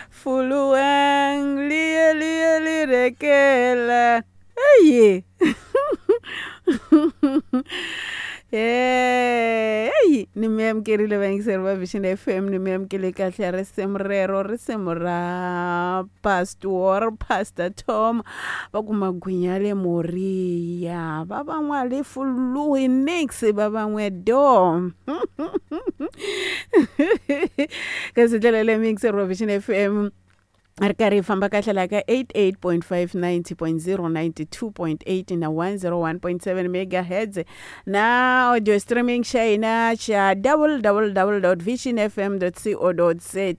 Fuluwang liye liye lirekela. Eyi. Heyi ni mi amukerile vayingiseri va Vision FM ni mi amukele kahle risimu rero risimu ra Pastor Pastor Tom va ku magwinya le Moriya va van'wa le Fuluhi nix va van'we do kasi ndlela leyi muyingiseri wa Vision FM a ri karhi hi famba kahle laha ka 88.5 90.0 92.8 na 101.7 megahertz na audio streaming xa hina xa www visionfm co za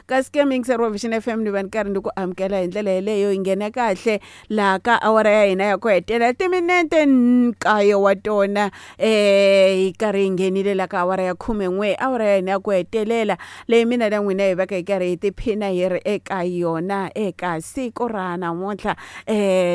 kasi ke muyingiseri wa Vision FM ni va ni karhi ni ku amukela hi ndlela yeleyo hi nghena kahle laha ka awara ya hina ya ku hetelela timinete nkaye wa tona hi karhi hi nghenile la ka awara ya 11 awara ya hina ya ku hetelela leyi mina na n'wina hi vaka hi karhi hi tiphina hi ri eka yona eka siku ra namuntlha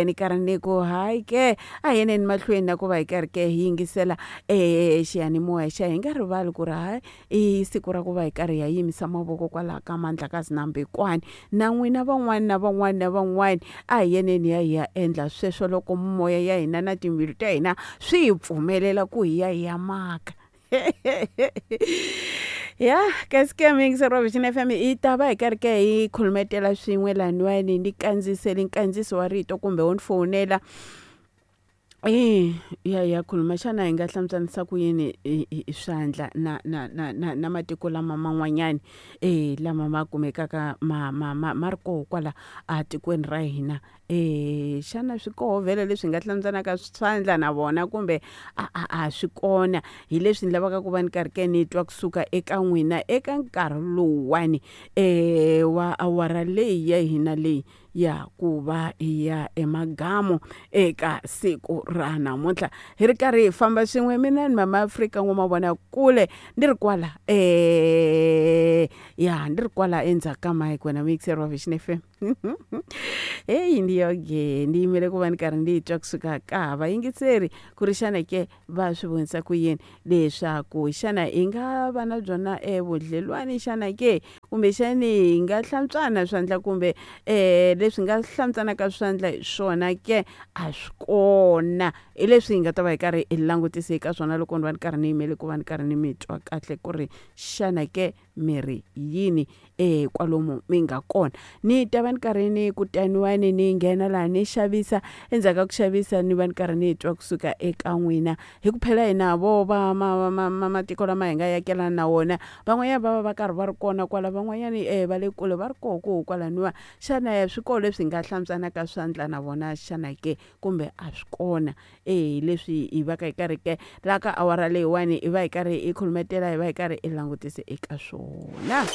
ni karhi ni ku hayi ke a hi yeneni mahlweni na ku va hi karhi ke hi yingisela xiyanimoya xa hi nga rivali ku ri hayi i siku ra ku va hi karhi hi ya yimisa mavoko kwalaha ka Mandlakazi na Mbikwani na n'wina van'wani na van'wani na van'wani a hi yeneni hi ya hi ya endla sweswo loko mimoya ya hina na timbilu ta hina swi hi pfumelela ku hi ya hi ya maka ya kasi ke muyingiseri wa Vision FM hi ta va hi karhi ke hi khulumetela swin'we laniwani ni kandziyiseli nkandziyiso wa rito kumbe wo ni fowunela ya ya khuluma xana hi nga hlamuselisa ku yini i swandla na na na na na matiko lama man'wanyani lama ma kumekaka ma ma ma ma ri koho kwala a tikweni ra hina xana swi koho vhele leswi hi nga hlamuselaka swandla na vona kumbe a a a swi kona hi leswi ni lavaka ku va ni karhi ke ni twa kusuka eka n'wina eka nkarhi lowuwani wa awara leyi ya hina leyi ya ku va hi ya emagamu eka siku ra namuntlha hi ri karhi hi famba swin'we mina ni mama Afrika n'wamavona kule ni ri kwala ya ni ri kwala endzhaku ka mike wena muyingiseri wa Vision FM heyi ndi yoge ni yimele ku va ni karhi ni twa kusuka ka vayingiseri ku ri xana ke va swi vonisa ku yini leswaku xana hi nga va na byona evudlelwani xana ke kumbexani hi nga hlantswana swandla kumbe leswi nga hlantswanaka swandla hi swona ke a swi kona hi leswi hi nga ta va hi karhi hi langutise eka swona loko ni va ni karhi ni yimele ku va ni karhi ni mi twa kahle ku ri xana ke mi ri yini kwalomu mi nga kona ni ta va ni karhi ni kutaniwani ni nghena laha ni xavisa endzhaku ka ku xavisa ni va ni karhi ni twa kusuka eka n'wina hi ku phela hina vo va ma ma ma matiko lama hi nga yakelana na wona van'wanyana va va va karhi va ri kona kwala van'wanyani va le kule va ri koho koho kwalaniwa xana swi koho leswi hi nga hlantswanaka swandla na vona xana ke kumbe a swi kona hi leswi hi va ka hi karhi ke laha ka awara leyiwani hi va hi karhi hi khulumetela hi va hi karhi hi langutise eka swona.